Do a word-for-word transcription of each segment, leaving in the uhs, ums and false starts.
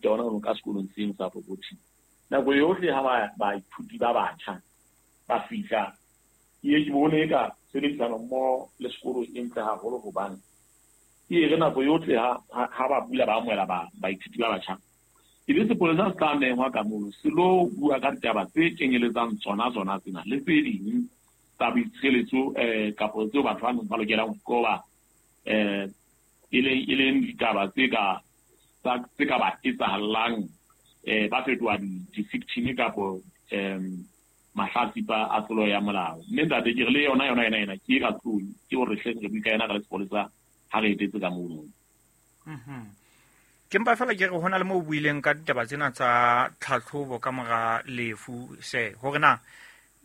mofuta ona ono ka sekolong seno sa Fokothi. Nako yohle ha ba baithuti ba batjha ba fihla, ke ye ke bone eka tshebedisano mmoho le sekolo e ntle haholo hobane ke e re nako yohle ha ha ba bula ba amohela ba baithuti ba batjha, ebe sepolesa se tla mengwa ka mono se lo bua ka ditaba tse kenyeletsang tsona tsona tsena le tse ding tsa boitshireletso um kapo tseo batho ba neng ba lokelang ho qoba um e leng e leng ditaba tse ka tse ka ba etsahallang um ba fetoha di-victim kapo um mahlatsipa a tlolo ya molao. Mme ntate ke re le yona yona ena ena ke e ka tlung ke hore hleng re bue ka yena ka le sepolesa ha re etetse ka mono. Mhm. Ke mpa fela ke re ho na le moo o buileng ka ditaba tsena tsa tlhatlhobo ka mora lefu se hore na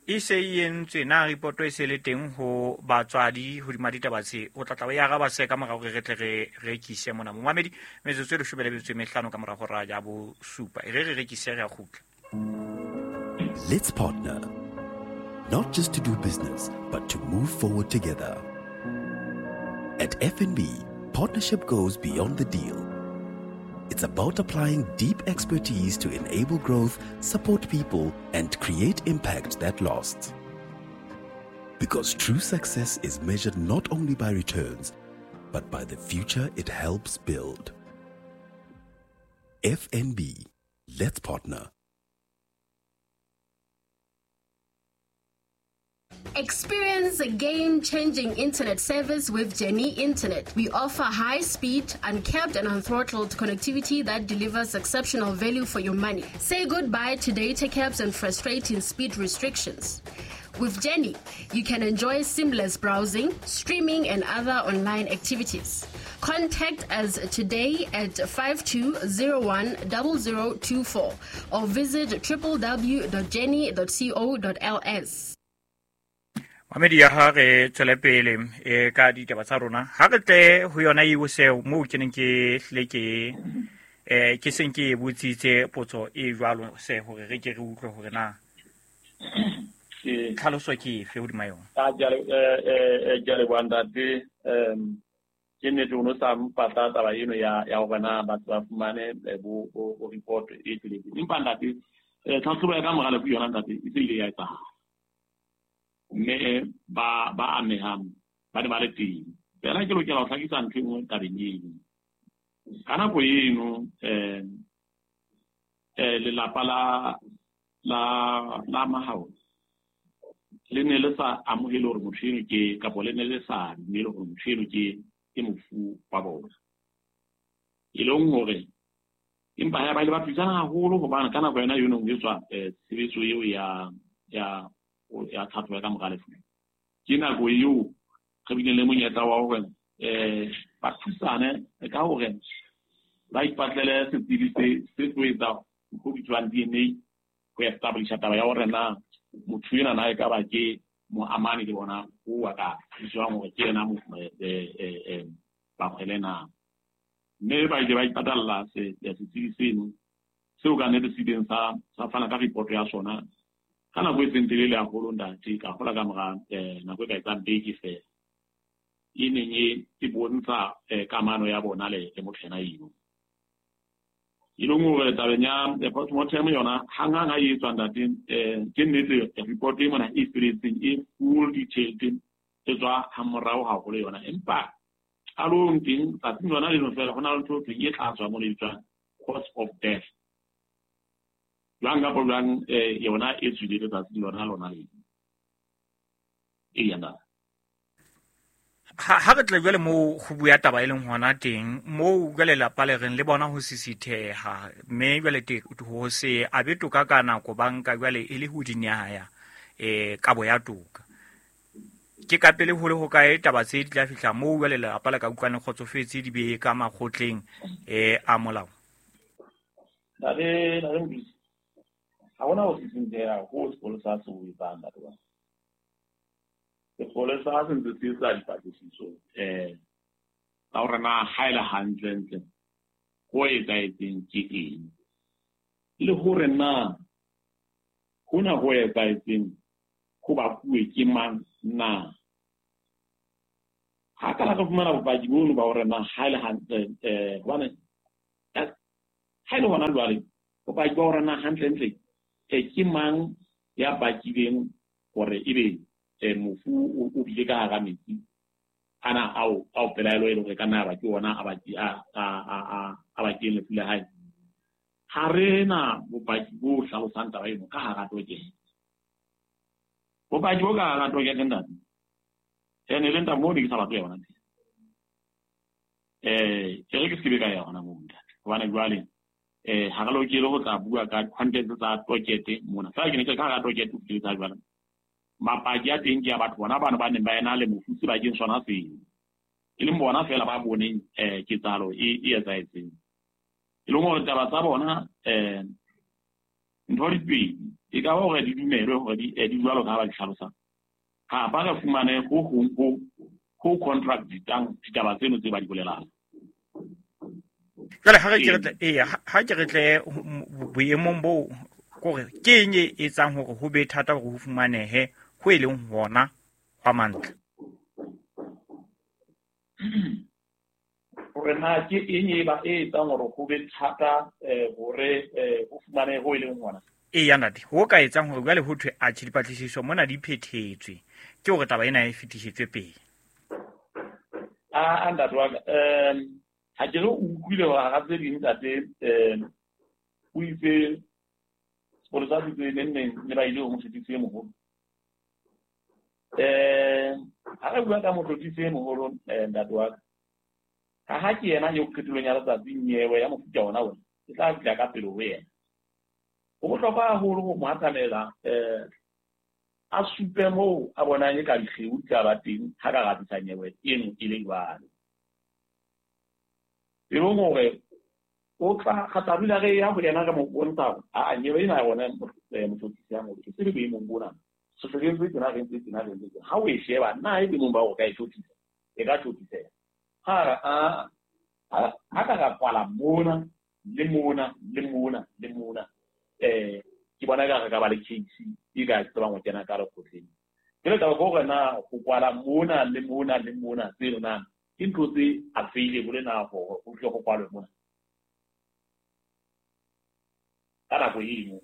e se e entswe na ripoto e se le teng ho batswadi hodima ditaba tse o tla tla o e araba se ka mora hore re tle re rekise mona momamedi metsotso e leshome le metso e mehlano ka mora hora ya bosupa e re re rekise re a kgutla. Let's partner, not just to do business, but to move forward together. At F N B, partnership goes beyond the deal. It's about applying deep expertise to enable growth, support people, and create impact that lasts. Because true success is measured not only by returns, but by the future it helps build. F N B, let's partner. Experience a game-changing internet service with Jenny Internet. We offer high-speed, uncapped and unthrottled connectivity that delivers exceptional value for your money. Say goodbye to data caps and frustrating speed restrictions. With Jenny, you can enjoy seamless browsing, streaming, and other online activities. Contact us today at five two zero one zero zero two four or visit w w w dot jenny dot co dot l s. Mamedi ya ha re tswele pele e ka ditaba tsa rona ha re tle ho yona eo seo moo ke neng ke hlile ke eh ke seng ke e botsitse potso e jwalo se hore re ke re utlwe hore na tlhaloso ke efe hodima yona. A ke a eh ke a leboha ntate. um Ke nnete o no sa mpatla taba eno ya ya hore na batho ba fumane bo bo report e tsweletseng, empa ntate tlhatlhobo ya ka mora lefu yona ntate e se ile ya etsahala mme ba ba amehang ba ne ba le teng. Fela ke lokela ho hlakisa ntho e nngwe tabeng eno. Ka nako eno um lelapa la la la Mahao le ne le sa amohele hore motho eno ke kapo le ne le sa dumele hore motho eno ke ke mofu wa bona. E leng hore empa ha ba ile ba thusana haholo hobane ka nako yona eno ho etswa tshebetso eo ya ya ya tlhatlhobo ya ka mora lefu. Ke nako eo re bileng le monyetla wa hore um ba thusane ka hore ba ipatlele setsebi se se tlo etsa ho bitswang D N A ho establisha taba ya hore na motho ena na e ka ba ke moamani le bona o wa ka tswang hore ke yena Bakgwele na. Mme ba ile ba ipatalla setsebi seno seo ka nnete se ileng sa sa fana ka report ya sona ka nako e seng telele haholo ntate, ka hola ka mora nako e ka etsang beke fela e neng e bontsha kamano ya bona le motho ena eno. E leng hore tabeng ya postmortem yona hanghang ha e etswa ntate, ke nnete report e mona e feletseng e full detailed e tswa hamorao haholo yona, empa qalong teng tsatsing lona leno fela ho na le ntho e thweng e tla tswa mo le bitswang cause of death. Jwang kapa jwang yona e tswile letsatsing lona lona leno. Eya ntate. Ha re tle jwale moo ho bua taba e leng hona teng moo jwale lelapa le reng le bona ho sisitheha mme jwale te ho se abe toka ka nako banka jwale e le ho dinyaya eh kabo ya toka. Ke ka pele ho le ho kae taba tse di tla fihla moo jwale lelapa le ka utlwane kgotsofetse di be ka makgotleng eh a molao. Ntate ntate Mdusi, ha hona ho sisintheha ho sepolesa se o etsang ntate wa. Sepolesa se ntse se etsa dipatlisiso um tsa hore na ha e le hantlentle ho etsahetseng ke eng, le hore na hona ho etsahetseng ho bakuwe ke mang na. Ha ka la re fumana bopaki bono ba hore na ha e le hantle um hobane Ha e le hona jwale bopaki ba hore na hantlentle ke mang ya bakileng hore ebe mofu o bile ka hara metsi ana ao ao pelaelo e leng hore ka nna ba ke ona a baki a a a a bakileng lefu la hae. Ha re na bopaki bo hlalosang taba eno ka hara tokete. Bopaki bo ka hara tokete ntate. Ene le ntate moo ne ke sa batle yona teng. Eh ke re ke se be ka ya hona moo ntate. Hobane jwale eh ha re lokele ho tla bua ka content tsa tokete mona. Feela ke ne ke ka hara tokete o fihlile tsa jwale. Mapaki a teng ke a batho bona bana ba neng ba ena le mofu sebakeng sona seo. E leng bona fela ba boneng eh ketsahalo e e etsahetseng. E leng hore taba tsa bona eh ntho di pedi e ka ba hore di dumelwe hore di di jwalo ka ha ba di hlalosa. Kapa re fumane ho hong ho ho contract ditang ditaba tseno tse ba di bolelang. Jwale ha re ke re tle eya ha ke re tle boemong bo kore ke eng e etsang hore ho be thata hore ho fumanehe ho e leng hona hwa mantle. Hore na ke eng e ba e etsang hore ho be thata hore ho fumanehe ho e leng hona. Eya ntate, ho ka etsang hore jwale ho thwe atjhe dipatlisiso mona di phethetswe ke hore taba ena e fetisetswe pele. A ntate wa ka um ha ke re o utlwile hore hara tse ding ntate um o itse sepolesa se itse neng neng ne ba ile ho motlotlisi e moholo. Eh ha re bua ka motlotlisi e moholo ntate wa ka ha ha ke yena eo qetellong ya letsatsi nyewe ya mofuta ona ona e tla fihla ka pele ho yena. Ho bohlokwa haholo ho mo atamela eh a supe moo a bonang e ka dikgeu di tla ba teng ha ka ratisa nyewe eno e le jwalo. E leng hore o tla kgata dula re ya ho yena re mo bontsha hore a nyewe ena ya rona motlotlisi ya moholo ke tsebe boemong bona. Se re ntse tjena re ntse tjena re ntse tjena. Ha o e sheba na e boemong ba hore o ka e tlotlisa e ka tlotliseha. Ha a ha ka ra kwala mona le mona le mona le mona eh ke bona ka re ka ba le case e ka tsebang ho kena ka lekgotleng. Jwale taba ke hore na ho kwala mona le mona le mona tseno na ke ntho tse available na hore ho tle ho kwalwe mona ka nako eno.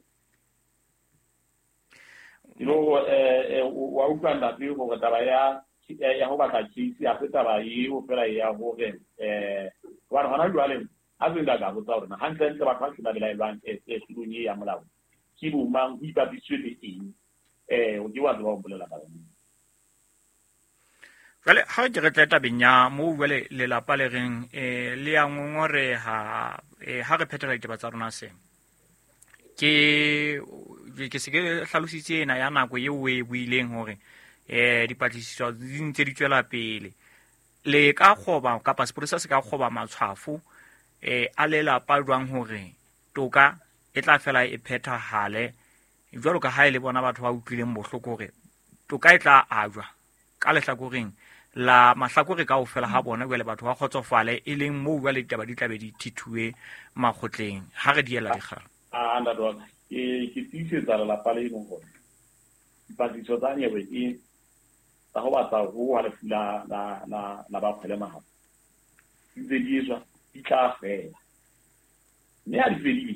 You know eh wa utlwa ntate hore taba ya ya ho batla case ha se taba eo fela ya hore eh hobane hona jwale a se nka ka botsa hore na hantlentle batho ba se ba belaelwang e tulong e ya molao ke bo mang ho ipapisitswe le eng eh o ke wa tseba ho mpolela ka yona. Jwale ha ke re tle tabeng ya moo jwale lelapa le reng eh le ya ngongoreha eh ha re phethela ditaba tsa rona se ke ke se ke hlalositse ena ya nako eo o e buileng hore eh dipatlisiso di ntse di tswela pele le ka kgoba kapa sepolesa se ka kgoba matshwafo eh a lelapa jwang hore toka e tla fela e phethahale jwalo ka ha e le bona batho ba utlwileng bohloko hore toka e tla ajwa ka lehlakoreng la mahlakore kaofela ha bona jwale batho ba kgotsofale e leng moo jwale ditaba di tla be di thithuwe makgotleng ha re diela dikgang. A ntate wa ka ke ke tiisetsa lelapa le leng hore dipatlisiso tsa nyewe e tsa ho batla ho wa lefu la la la la ba kgwele mahabo di ntse di etswa di tla fela mme ha di fedile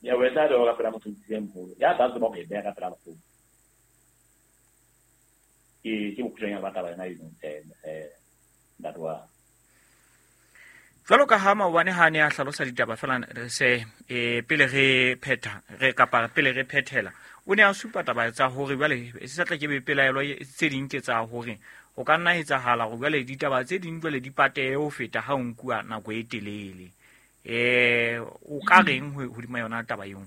nyewe e tla bewa ka pela motlotlisi e moholo ya tla tseba ho e beha ka pela lekgotla. Ke ke bokgutshwanyane ba taba yona eno eh ntate wa. Jwalo ka ha maobane ha ne a hlalosa ditaba fela se eh pele re phetha re kapa pele re phethela o ne a supa taba tsa hore jwale se sa tla ke be pelaelo tse ding ke tsa hore ho ka nna etsahala hore jwale ditaba tse ding jwale di patehe ho feta ha o nkuwa nako e telele. Eh o ka reng hodima yona taba eo?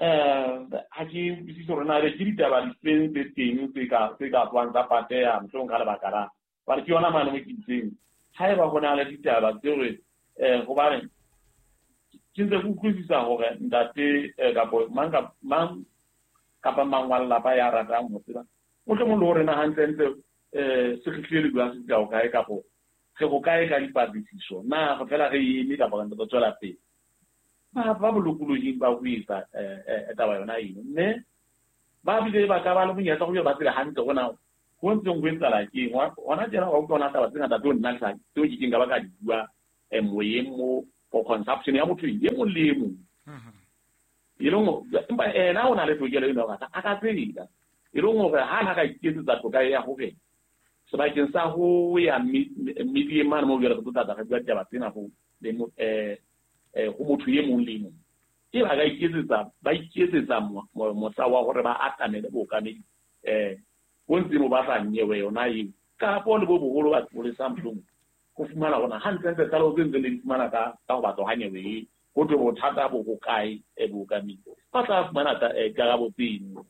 Eh ha ke utlwisise hore na ebe ke ditaba difeng tse teng tse ka tse ka tswang tsa pateha mohlomong ka lebaka la hobane ke yona mane mo ke itseng haeba ho na le ditaba tse hore eh hobane ke ntse ke utlwisisa hore ntate kapa mang mang kapa mang wa lelapa ya ratang ho tseba mohlomong le hore na hantlentle eh se kgihlile le bua se fihla hokae kapo re hokae ka dipatlisiso na re fela re eme kapa re ntse re tswela pele. Ba ba bolokolohing ba ho etsa eh taba yona eno mme ba bile ba ka ba le monyetla ho ba tsebe hantle hore na ho ntseng ho etsahala ke eng. Hona tjena wa utlwa hona taba tse ngata tseo nna ke sa tseo ke keng ka ba ka di bua moyeng mo for consumption ya motho e mong le e mong. E leng empa ena o na le tokelo eno hore a ka tseba. E leng hore ha na ka iketsetsa toka ya hore sebakeng sa ho ya media mane mo jwale re tlo tla re bua ditaba tsena ho le eh ho motho e mong le mong. E ba ka iketsetsa ba iketsetsa mosa wa hore ba atamele bookamedi eh bo ntse bo batla nyewe yona eo kapo le bo boholo ba sepolesa mohlomong ho fumana hore hantlentle tlaleho tse ntseng le di fumana ka ka ho batla ha nyewe e ho thwe bothata bo hokae bookamedi ba tla fumana karabo tseno.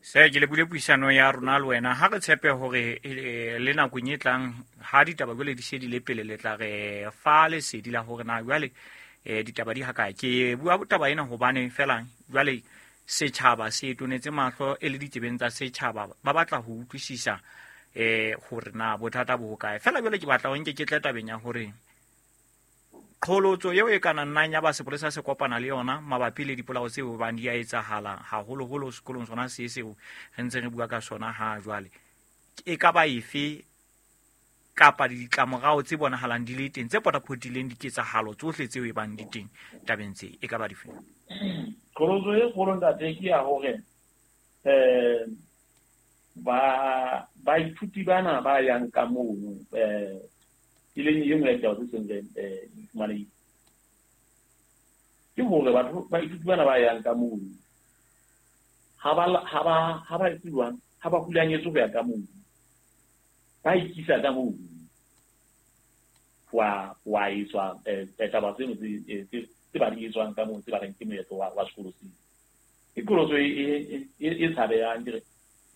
Se ke le bule puisano ya rona le wena ha re tshepe hore le nakong e tlang ha ditaba jwale di se di le pele le tla re fa lesedi la hore na jwale eh ditaba di hakae. Ke bua taba ena hobane fela jwale setjhaba se tonetse mahlo e le ditsebeng tsa setjhaba ba batla ho utlwisisa eh hore na bothata bo hokae. Fela jwale ke batla ho nke ke tle tabeng ya hore qholotso eo e kana nnang ya ba sepolesa se kopana le yona mabapi le dipolao tseo bang di a etsahala haholoholo sekolong sona se seo re ntse re bua ka sona ha jwale e ka ba efe kapa ditlamorao tse bonahalang di le teng tse potapotileng diketsahalo tsohle tseo e bang di teng tabeng tse e ka ba dife? Qholotso e kgolo ntate ke ya hore eh ba baithuti bana ba yang ka mono eh e leng e nngwe ya ditaba tse seng eh di fumanehile ke hore batho baithuti bana ba yang ka mono ha ba ha ba ha ba etse jwang ha ba hulanyetswe ho ya ka mono ba ikisa ka mono wa wa etswa eh taba tseno tse tse ba di etswang ka mono tse ba reng ke moetlo wa wa sekolo seo. Ke qholotso e e tshabehang ke re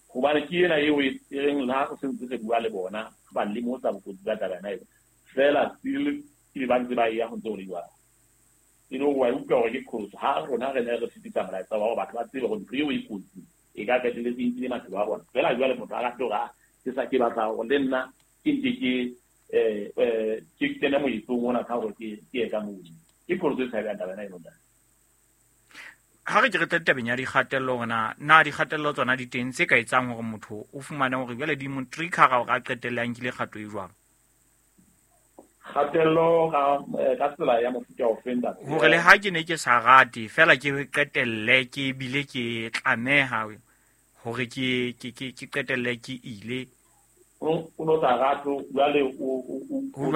hobane ke ena eo e reng le ha re sentse re bua le bona ba lemosa bokotsi ba taba ena eo fela still ke ba ntse ba ya ho ntse ho le jwalo. E le hore wa utlwa hore ke qholotso ha rona re ne re fetisa molaetsa wa hore batho ba tsebe hore ntho eo e kotsi e ka qetelletse e nkile maphelo a bona. Fela jwale motho a rate hore a ke sa ke batla hore le nna ke nke ke eh eh ke kene moetlong ona ka hore ke ke ye ka mono. Ke qholotso e tshabehang taba ena eno ntate. Ha re ke re tle tabeng ya dikgatello hore na na dikgatello tsona di teng tse ka etsang hore motho o fumane hore jwale di mo trigger hore a qetelle a nkile kgato e jwang? Kgatello ka ka tsela ya mofuta ofe ntate? Hore le ha ke ne ke sa rate fela ke qetelle ke bile ke tlameha hore ke ke ke ke qetelle ke ile. O no sa rate jwale o o o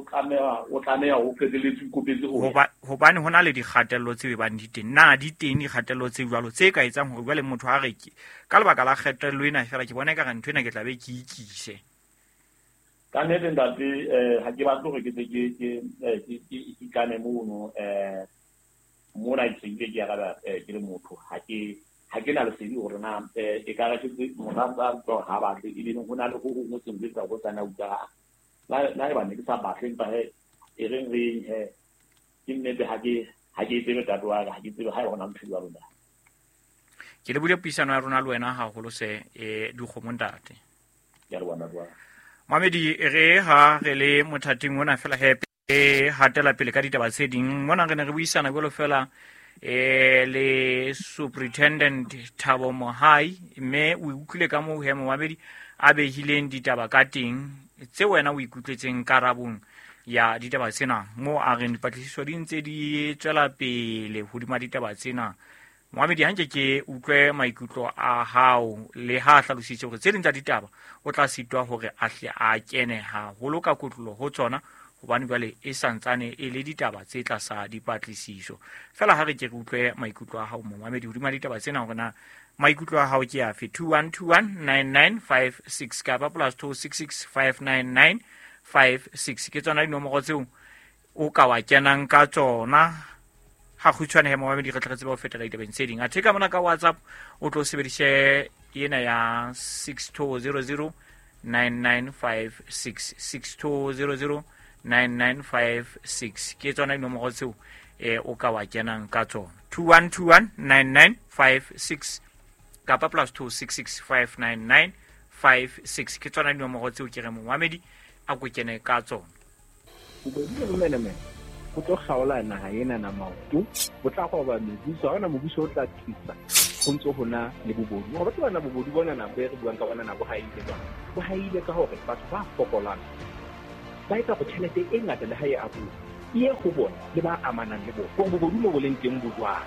tlameha o tlameha o qetelletse o ikopetse ho hobane hona le dikgatello tse bang di teng. Na di teng dikgatello tse jwalo tse ka etsang hore jwale motho a re ke ka lebaka la kgatello ena fela ke bona ekare ntho ena ke tla be ke ikise? Ka nnete ntate eh ha ke batle hore ke tle ke ke ke ke ikane mono eh mona ke ile ke araba ke le motho ha ke ha ke na lesedi hore na e ka re ke motho a utlwa ha batle e leng ho na le ho hong ho seng ho etsa ho sana utlwa la la e ba ne ke sa batle empa he e reng re he ke nnete ha ke ha ke tsebe ntate wa ka ha ke tsebe ha e hona ntho jwalo ntate. Ke le bule puisano ya rona le wena haholo se eh dikgomo ntate. Ke a leboha ntate wa ka. Mamedi re ha re le mothating ona fela he e hatela pele ka ditaba tse ding mona re ne re buisana jwalo fela eh le Superintendent Thabo Mohai mme o utlwile ka moo he momamedi a behileng ditaba ka teng tse wena o ikutlwetseng karabong ya ditaba tsena mo a reng dipatlisiso di ntse di tswela pele hodima ditaba tsena. Momamedi hanke ke utlwe maikutlo a hao le ha hlalositse hore tse ding tsa ditaba o tla sitwa hore a hle a kene haholo ka kotlolo ho tsona hobane jwale e santsane e le ditaba tse tlasa dipatlisiso. Fela ha re ke re utlwe maikutlo a hao momamedi hodima ditaba tsena hore na maikutlo a hao ke afe. Two one two one nine nine five six kapa plus two six six five nine nine five six ke tsona dinomoro tseo o ka wa kenang ka tsona. Ha kgutshwane he momamedi re tle re tsebe ho fetela ditabeng tse ding. Athe ka mona ka WhatsApp o tlo sebedise ena ya six two zero zero nine nine five six six two zero zero nine nine five six ke tsona dinomoro tseo eh o ka wa kenang ka tsona. Two one two one nine nine five six kapa plus two six six five nine nine five six ke tsona dinomoro tseo ke re momamedi a ko kene ka tsona. Bobodu le bomenemene go tlo kgaola naha ena na maoto, bo tla goba mebuso, ha hona mobuso o tla thusa go ntse ho na le bobodu. Gore batho bana bobodu bona na bo e re buang ka bona na bo haile jwang? Bo haile ka hore batho ba fokolang Ba etsa hore tjhelete e ngata le ha e abuwa e ye ho bona le ba amanang le bona. Hore bobodu mo bo leng teng bo jwang.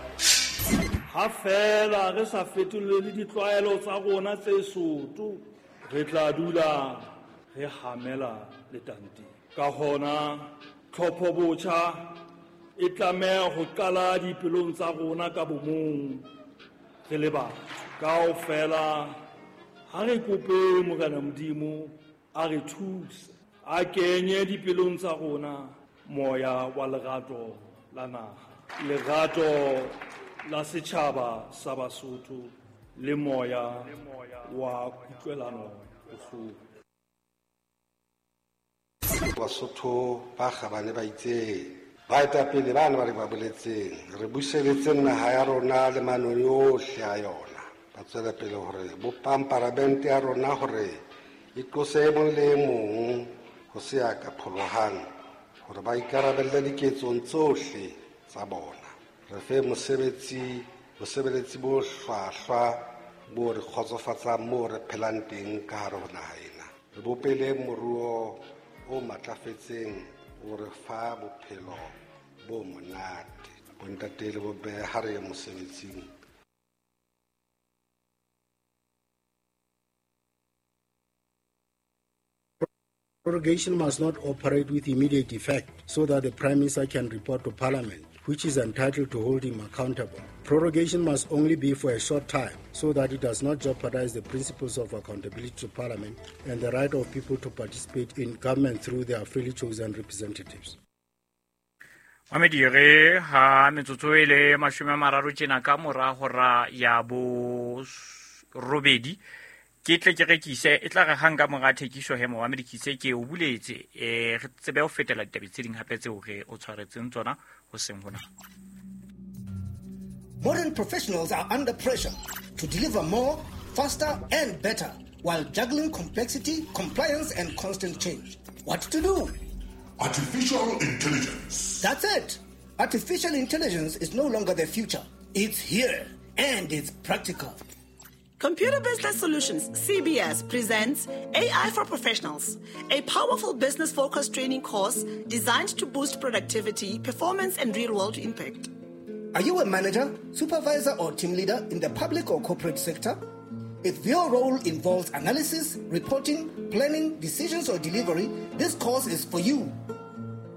Ha feela re sa fetolele ditlwaelo tsa rona tse soto, re tla dula re hamela letanteng. Ka hona tlhopho botjha e tlameha ho qala dipelong tsa rona ka bomong re le batho. Kaofela ha re kope Morena Modimo a re thuse, a kenye dipelong tsa rona moya wa lerato la naha, lerato la setjhaba sa Basotho le moya wa kutlwelano bohloko. Basotho ba kgabane ba itseng, baetapele bana ba re ba boletseng, re buseletse naha ya rona le manoni ohle a yona. Ba tswela pele hore bopang paramente ya rona hore e tlose e mong le e mong ho se ya ka pholohang, hore ba ikarabelle diketsong tsohle tsa bona. Re fe mosebetsi, bosebeletsi bo hlwahlwa bo re kgotsofatsang moo re phelang teng ka hare ho naha ena. Re bopele moruo o matlafetseng o re fa bophelo bo monate. Bontate le bomme ha re ye mosebetsing. Prorogation must not operate with immediate effect so that the Prime Minister can report to Parliament, which is entitled to hold him accountable. Prorogation must only be for a short time so that it does not jeopardize the principles of accountability to Parliament and the right of people to participate in government through their freely chosen representatives. Mamedi re ha metsotso e le mashome a mararo tjena ka mora hora ya bo robedi ke tle ke rekise e tla re hang ka mora thekiso he Mohammed Kise ke o buletse eh re tsebe ho fetela ditaba tse ding hape tseo re o tshwaretseng tsona ho seng hona. Modern professionals are under pressure to deliver more, faster and better while juggling complexity, compliance and constant change. What to do? Artificial intelligence. That's it. Artificial intelligence is no longer the future. It's here and it's practical. Computer Business Solutions, C B S, presents A I for Professionals, a powerful business-focused training course designed to boost productivity, performance, and real-world impact. Are you a manager, supervisor, or team leader in the public or corporate sector? If your role involves analysis, reporting, planning, decisions, or delivery, this course is for you.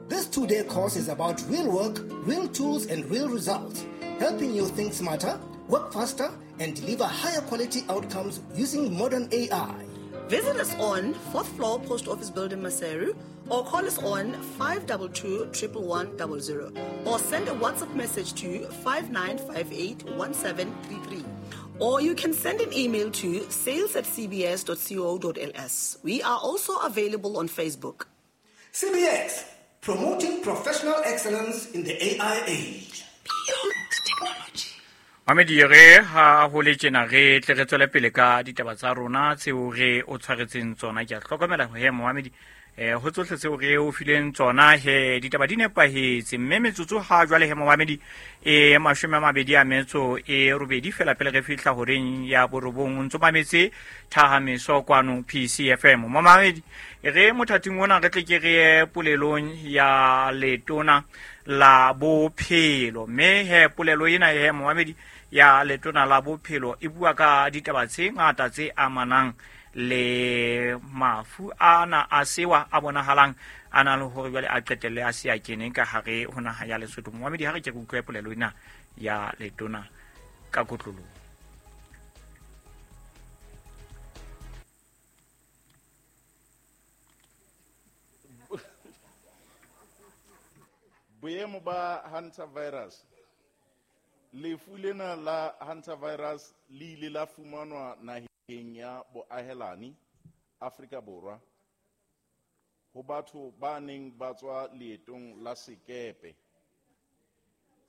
This two-day course is about real work, real tools, and real results, helping you think smarter, work faster, and deliver higher quality outcomes using modern A I. Visit us on fourth floor Post Office Building, Maseru, or call us on five two two, one one one zero or send a WhatsApp message to five nine five eight, one seven three three. Or you can send an email to sales at c b s dot co dot l s. We are also available on Facebook. C B S, promoting professional excellence in the A I age. Beyond technology. Mamedi re ha ho le tjena re tle re tswele pele ka ditaba tsa rona tseo re o tshwaretseng tsona. Ke a hlokomela he Mohamedi eh ho tsohle tseo re o fileng tsona he ditaba di nepahetse mme metsotso ha jwale he Mohamedi e mashome a mabedi a metso e robedi fela pele re fihla horeng ya borobong ntso mametse Thahameso kwano P C F M. Mohamedi re mothating ona re tle ke re polelong ya letona la bophelo mme he polelo ena he Mohamedi ya letona la bophelo e bua ka ditaba tse ngata tse amanang le mafu ana a sewa a bonahalang a na le hore jwale a qetelle a se a kene ka hare ho naha ya Lesotho. Mohamedi ha re ke utlwe polelo ena ya letona ka kotloloho. Boemo ba hantavirus. Lefu lena la hantavirus le ile la fumanwa naheng ya boahelani Afrika Borwa ho batho ba neng ba tswa leetong la sekepe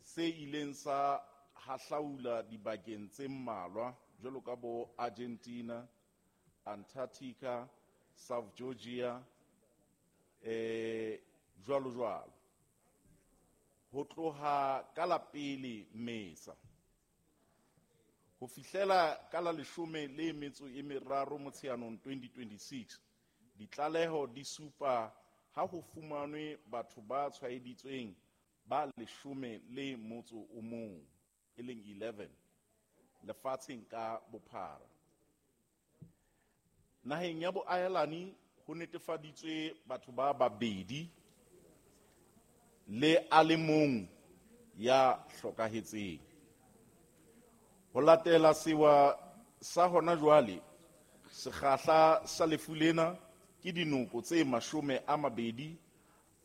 se ileng sa hahlaula dibakeng tse mmalwa jwalo ka bo Argentina, Antarctica, South Georgia, eh jwalo jwalo. Ho tloha ka la pele Mmesa ho fihlela ka la leshome le metso e meraro Motsheanong twenty twenty-six, ditlaleho di supa ha ho fumanwe batho ba tshwaeditsweng ba leshome le motso o mong, e leng eleven, lefatsheng ka bophara. Naheng ya boahelani ho netefaditswe batho ba babedi le a le mong ya hlokahetseng. Ho latela sewa sa hona jwale, sekgahla sa lefu lena ke dinoko tse mashome a mabedi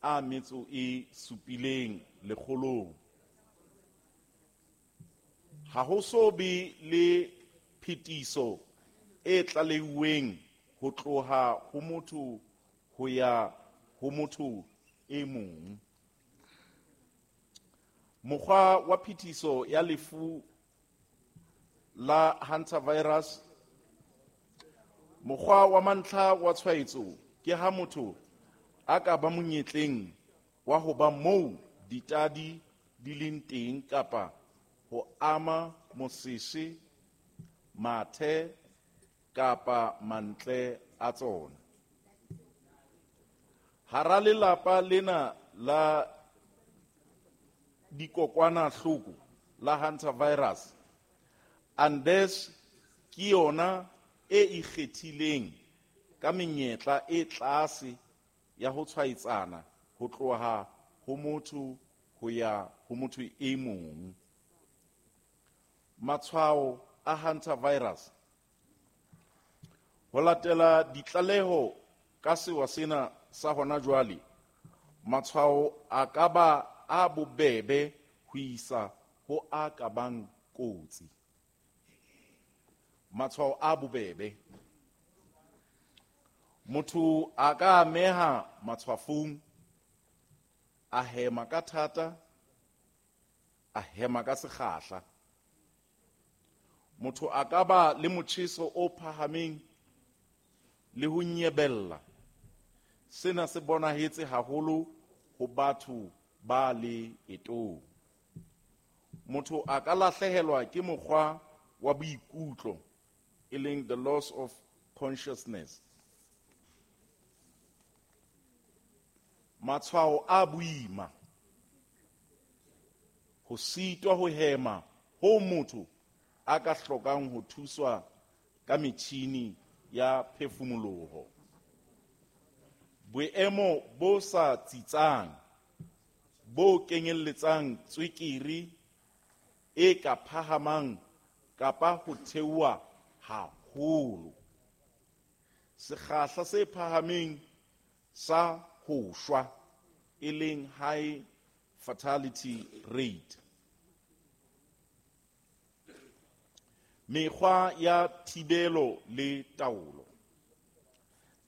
a metso e supileng lekgolong. Ha ho so be le phetiso e tlaleuweng ho tloha ho motho ho ya ho motho e mong. Mokgwa wa phetiso ya lefu la hantavirus. Mokgwa wa mantlha wa tshwaetso ke ha motho a ka ba monyetleng wa ho ba moo ditadi di leng teng kapa ho ama mosese, mathe kapa mantle a tsona. Hara lelapa lena la dikokwanahloko la hantavirus, Andes ke yona e ikgethileng ka menyetla e tlase ya ho tshwaetsana ho tloha ho motho ho ya ho motho e mong. Matshwao a hantavirus. Ho latela ditlaleho ka sewa sena sa hona jwale, matshwao a ka ba a bobebe ho isa ho a ka bang kotsi. Matshwao a bobebe. Motho a ka ameha matshwafong, a hema ka thata, a hema ka sekgahla. Motho a ka ba le motjheso o phahameng le ho nyebella. Sena se bonahetse haholo ho batho ba leetong. Motho a ka lahlehelwa ke mokgwa wa boikutlo, e leng the loss of consciousness. Matshwao a boima, ho sitwa ho hema ho motho a ka hlokang ho thuswa ka metjhini ya phefumoloho. Boemo bo sa tsitsang bo kenyelletsang tswekere e ka phahamang kapa ho theoha haholo. Sekgahla se phahameng sa ho shwa, e leng high fatality rate. Mekgwa ya thibelo le taolo.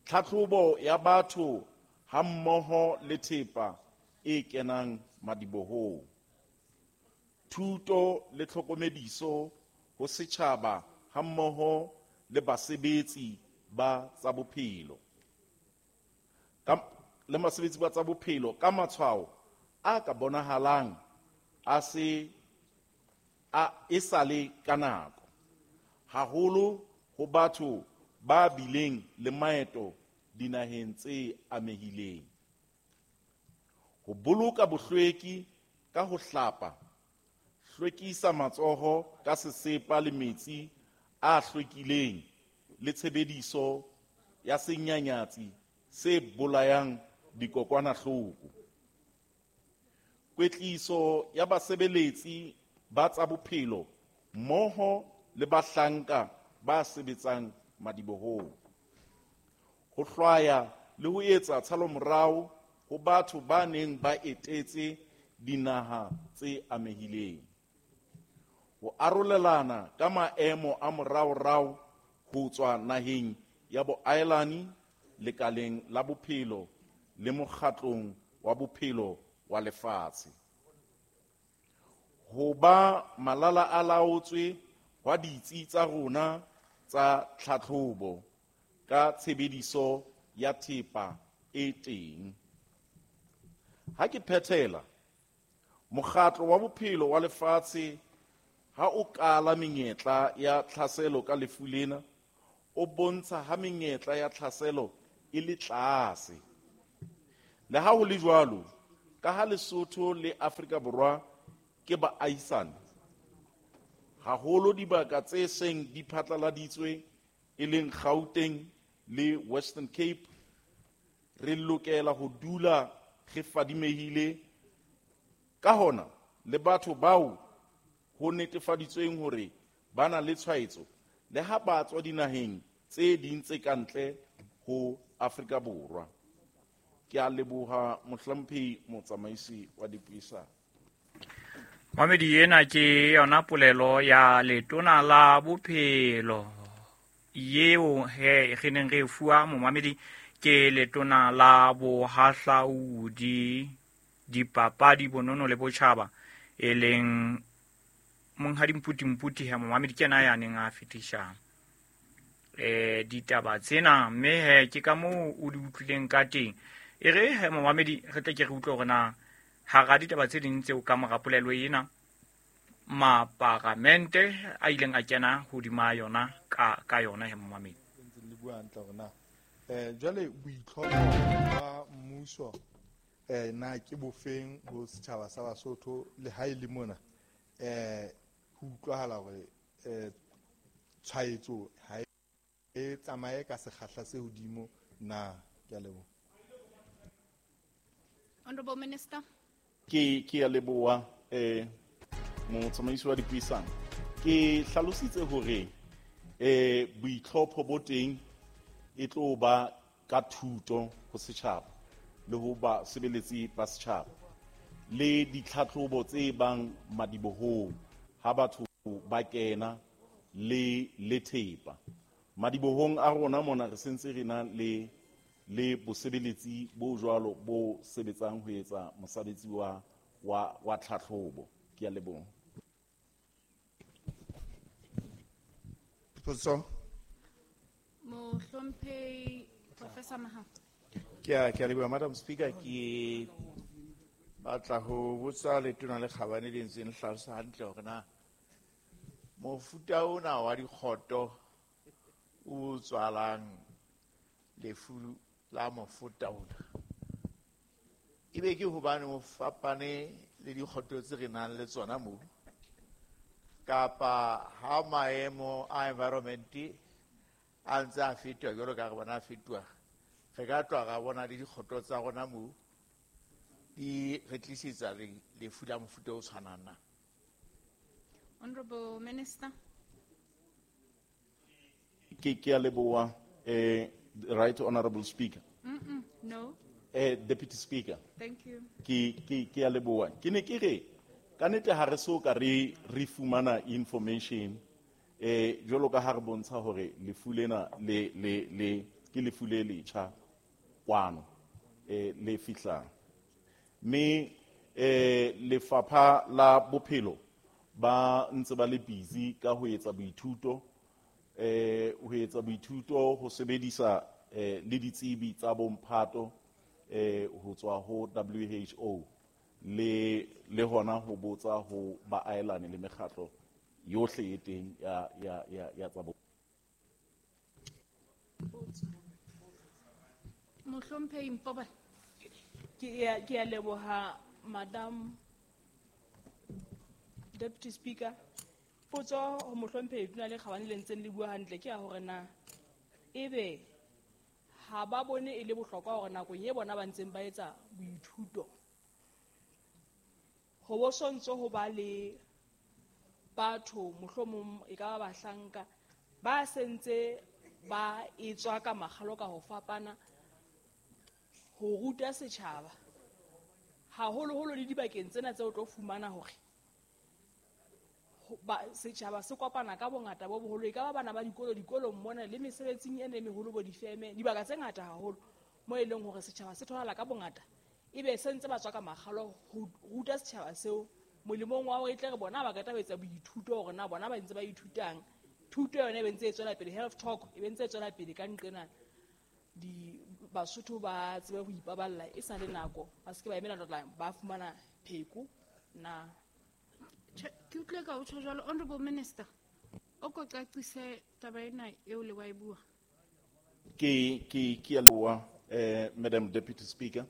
Tlhatlhobo ya batho hammoho le thepa e kenang madibohong. Thuto le tlhokomediso ho setjhaba hammoho le basebetsi ba tsa bophelo. Ka le basebetsi ba tsa bophelo ka matshwao a ka bonahalang a se a e sale ka nako, haholo ho batho ba bileng le maeto dinaheng tse amehileng. Ho boloka bohlweki ka ho hlapa, hlwekisa matsoho ka sesepa le metsi a hlwekileng le tshebediso ya senyanyatsi se bolayang dikokwanahloko. Kwetliso ya basebeletsi ba tsa bophelo mmoho le bahlanka ba sebetsang madibohong. Ho hlwaya le ho etsa tshalomorao ho batho ba neng ba etetse dinaha tse amehileng. Ho arolelana ka maemo a moraorao ho tswa naheng ya boahelani, lekaleng la bophelo le mokgatlong wa bophelo wa lefatshe. Ho ba malala a laotswe hwa ditsi tsa rona tsa tlhatlhobo ka tshebediso ya thepa e teng. Ha ke phethela, mokgatlo wa bophelo wa lefatshe ha o kala menyetla ya tlhaselo ka lefu lena, o bontsha ha menyetla ya tlhaselo e le tlase. Le ha ho le jwalo, ka ha Lesotho le Afrika Borwa ke baahisani, haholo dibaka tse seng di phatlaladitswe e leng Gauteng le Western Cape, re lokela ho dula re fadimehile. Ka hona le batho bao ho netefaditsweng hore ba na le tshwaetso le ha ba tswa dinaheng tse ding tse ka ntle ho Afrika Borwa. Ke a leboha mohlomphehi motsamaisi wa dipuisano. Mamedi, ena ke yona polelo ya letona la bophelo yeo he re neng re fuwa momamedi ke letona la bohahlaudi, dipapadi, bonono le botjhaba, e leng monghadi Mputi Mputi. He momamedi, ke yena ya neng a fetisha eh ditaba tsena, mme he ke ka moo o di utlwileng ka teng. E re he momamedi, re tle ke re utlwe hore na hara ditaba tse ding tseo ka mora polelo ena maparamente a ileng a kena hodima yona ka ka yona. He momamedi, le bua hantle hore na eh jwale boitlhompho ba mmuso eh na ke bofeng ho setjhaba sa Basotho le ha e le mona eh ho utlwahala hore eh tshwaetso ha e tsamaye ka sekgahla se hodimo na. Ke a leboha. Honorable Minister. Ke ke a leboha eh motsamaisi wa dipuisano. Ke hlalositse hore eh boitlhopho bo teng e tlo ba ka thuto ho setjhaba le ho ba sebeletsi ba setjhaba le ditlhatlhobo tse bang madibohong ha batho ba kena le le thepa madibohong a rona mona. Re sentse re na le le bosebeletsi bo jwalo bo sebetsang ho etsa mosebetsi wa wa wa tlhatlhobo. Ke a leboha. Potso. Mohlomphehi Professor Mahao. Ke a ke a leboha, Madam Speaker. Ke batla ho botsa letona le kgabane le ntseng le hlalosa hantle hore na mofuta ona wa dikgoto o tswalang lefu la mofuta ona ebe ke hobane o fapane le dikgoto tse re nang le tsona moo, kapa ha maemo a environment a ntse a fetoha jwalo ka re bona a fetoha, re ka tloha ra bona le dikgoto tsa rona moo di re tlisetsa lefu la mofuta o tshwanang na? Honorable Minister. Ke ke a leboha, eh Right Honorable Speaker. Mm -mm, no. Eh Deputy Speaker. Thank you. Ke ke ke a leboha. Ke ne ke re ka nete ha re so ka re re fumana information eh jwalo ka ha re bontsha hore lefu lena le le le ke lefu le letjha kwano eh le fihlang, mme eh lefapha la bophelo ba ntse ba le busy ka ho etsa boithuto eh ho etsa boithuto ho sebedisa eh le ditsebi tsa bomphato eh ho tswa ho W H O le le hona ho botsa ho baahelane le mekgatlo yohle e teng ya ya ya ya tsa bo. Mohlomphehi Mpobane. Ke a ke a leboha, Madam Deputy Speaker. Potso ho mohlomphehi Tona le kgabane le ntseng le bua hantle ke ya hore na ebe ha ba bone e le bohlokwa hore nakong e bona ba ntseng ba etsa boithuto ho bo sontso ho ba le batho mohlomong e ka ba bahlanka ba sentse ba etswa ka makgalo ka ho fapana ho ruta setjhaba haholoholo le dibakeng tsena tse o tlo fumana hore setjhaba se kopana ka bongata bo boholo, e ka ba bana ba dikolo dikolong mona le mesebetsing e meholo bo difeme, dibaka tse ngata haholo mo e leng hore setjhaba se tholahala ka bongata, ebe se ntse ba tswa ka makgalo ho ruta setjhaba seo molemong wa hore e tle re bona ba ka tla etsa boithuto hore na bona ba ntse ba ithutang thuto yona e be ntse e tswela pele, health talk e be ntse e tswela pele ka nqena di Basotho ba tsebe ho ipaballa e sa le nako, ba se ke ba emela tla ba fumana pheko na. Ke utlwe ka o tjho jwalo, Honorable Minister, o ko qaqise taba ena eo le wa e bua. Ke ke ke a leboha, eh Madam Deputy Speaker.